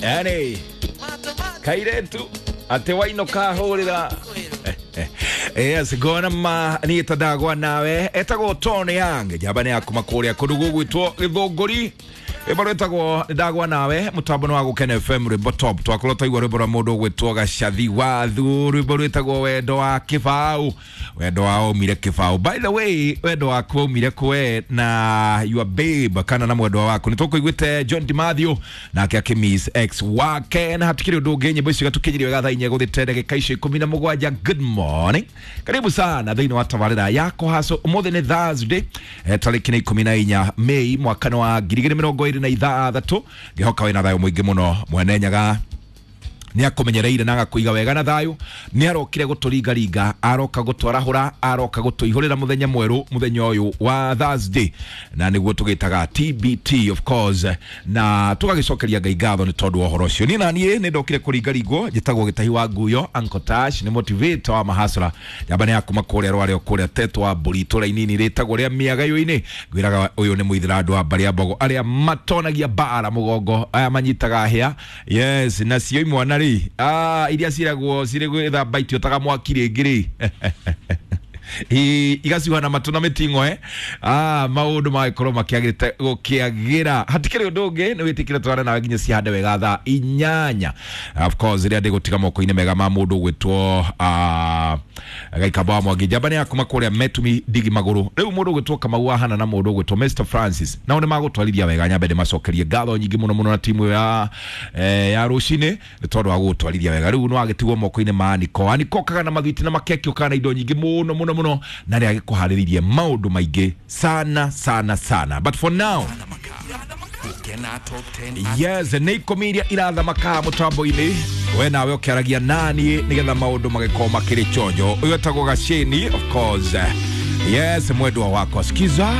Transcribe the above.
Yani kairetu atä waino kahå rä yes ngona ma niä ta ndagwa nawe etagwo Tony Young njamba nä yakuma kå rä a kå ndå gå gwä two gä thå ngå ri rwĩmbo rwĩtagwo ndagwa nawe mũtambo nĩ wa Gũkena FM rwĩmbo top twakorwo twaigua rwĩmbo rwa mũndũ ũgwĩtwo Gacathi Wathu rwĩmbo rwĩtagwo wendo wa kĩbaũ wendo wa waumire kĩbaũ. By the way, wendo waku waumire kwe na your babe kana na mwendwa waku. Nĩ tũkũiguĩte John DiMathio nake akĩmiss ex wake na hatikĩrĩ ũndũ ũngĩ. Nyĩmbo icio igatũkinyĩria wega thaa 4 gũthĩte ndagĩka icio 17. Good morning, karibu sana thĩinĩ wa tabarĩra ya Kũhaco. Ũmũthĩ nĩ Thursday, tarĩki nĩ 14 Mei mwaka wa 2026. Ngĩhoka wĩna thayũ mũingĩ mũno. Mwene Nyaga nä akåmenyereire na agakåiga wega na thayå. Nä arokire gå tå ringaringa, aroka gå twarahå, aroka gå tå ihå rä ra må thenya mwerå, må thenya å yå wa Thursday, na nä guo tå gä taga TBT of course, na tå gagä cokeria Ngai ngatho nä tondå wa å horo å cio. Niä naniä nä ndokire kå ringaringwo, njä tagwo gä tahi wa nguyo. Uncle Tash nä motivator wa mahasra, njamba nä yakuma kå rä a rwarä o kå rä a tetwo wa mbå ri itå ra inini rä tagwo rä a mĩagayå-inĩ. Ngwĩraga ũyũ nĩ mũithĩra wa mbarĩ ya mbogo arĩa matonagia mbara mũgongo, aya manyitaga hĩa, yes, nacio imwana rĩ, iria ciragwo cirĩ gwĩthamba itiotaga mwaki rĩngĩ rĩ, igacuha na matũ na mĩting'oe. Maũndũ magĩkorwo makĩagĩrĩte gũkĩagĩra. Hatikĩrĩ ũndũ ũngĩ, nĩ wĩtĩkĩre twarane nawe nginya cihande wega thaa 8, of course rĩrĩa ndĩgũtiga moko-inĩ mega ma mũndũ ũgwĩtwo Gaikamba wa Mwangi, njamba nĩ yakuma kũrĩa Metumi ndigi magũrũ. Rĩu mũndũ ũgwĩtwo Kamau wahana na mũndũ ũgwĩtwo Mr Francis nao nĩ magũtwarithia wega. Nyambe ndĩmacokerie ngatho nyingĩ mũno mũno na timu ya rũcinĩ nĩ tondũ wa gũgũtwarithia wega. Rĩu nĩ wagĩtigwo moko-inĩ ma Aniko. Aniko okaga na mathwiti na makeki, okaga na indo nyingĩ mũno mũno mũno, na nĩ agĩkũharĩrĩirie maũndũ maingĩ sana sana sana, but for now, yes, nä ikå iria irathamaka må-inä we nawe å kä aragia nani nä getha maå ndå magä makä rä chonjo. Å yå etagwo Gaceni, of course, yes, mwendwa wakwa, skiza.